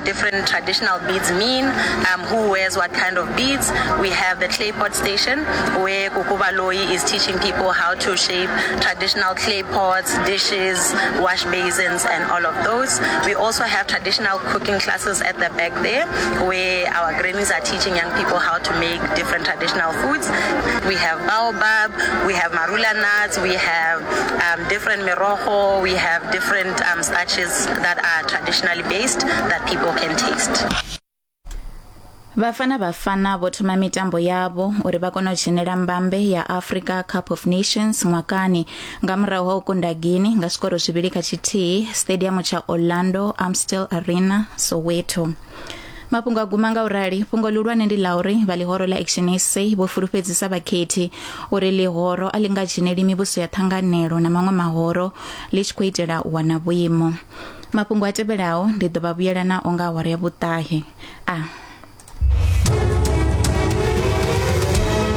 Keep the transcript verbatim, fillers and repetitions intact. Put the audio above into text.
different traditional beads mean, um, who wears what kind of beads. We have the clay pot station where Kukubaloi is teaching people how to shape traditional clay pots, dishes, wash basins, and all of those. We also have traditional cooking classes at the back there where our grannies are teaching young people how to make different traditional foods. We have baobab, we have marula nuts, we have um, different merojo, we have different um, starches that are traditionally based that people can taste. Bafana Bafana vho thoma mitambo yavho uri vha kone u dzhenela mbambe ya Africa Cup of Nations ṅwakani nga murahu ha u kunda Guinea nga zwikoro zwivhili kha tshithihi stadium tsha Orlando Amstel Arena, Soweto. Mafhungo a guma nga u rali. Fhungo ḽihulwane ndi ḽa uri vha ḽihoro ḽa Action S A vho fulufhedzisa vhakhethi uri ḽihoro a ḽi nga dzheneli mivhuso ya ṱhanganelo na maṅwe mahoro ḽi tshi khou itela u wana vhuimo. Mafhungo a tevhelaho ndi ḓo vha vhuyela nao nga awara ya vhuṱahe. A